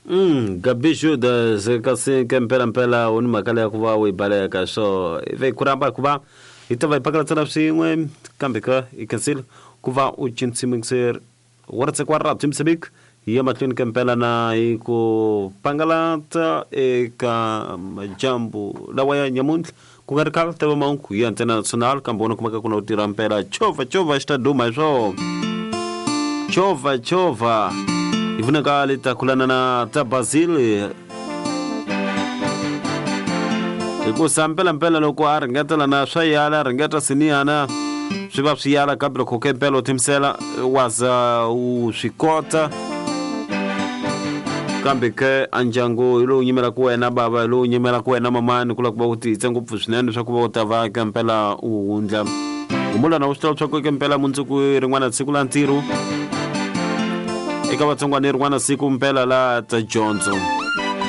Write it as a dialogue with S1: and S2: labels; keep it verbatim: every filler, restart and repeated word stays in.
S1: Mm, Gabi Judas kasi ke mpela mpela u ni mhaka leya ku va u yi baleka so ivi ku rhamba ku va hi ta va hi pakalatsana swin'we kambe ka hi khensile ku va u cinsimikiseri wa ra Jimsibik hi ya mahlweni ka mpela na hi ku pangalata eka majambu lawa ya nyamuntlha ku nga ri khale ta va mahungu ya ntsena national kambe wona kumeka ku na u tirha mpela chovha chovha xi ta duma hi swona chovha chovha hi vonaka le ta kulana na ta Basil hikusa mpelampela loko a ringetela na swa yala a ringeta siniyana swi va swi yala kambe loko ke mpela u timisela wa za u swi kota kambe ke a ndyangu hi lowu nyimelaka wena bava hi lowu nyimelaka wena mamani ku lava ku va u tiyise ngopfu swinene leswaku va u ta va ke mpela u wundla humulana u swi tiva leswaku ke mpela mundzuku rin'wana siku la ntirho eka vatsongwana rin'wana siku mpela la ta dyondzo.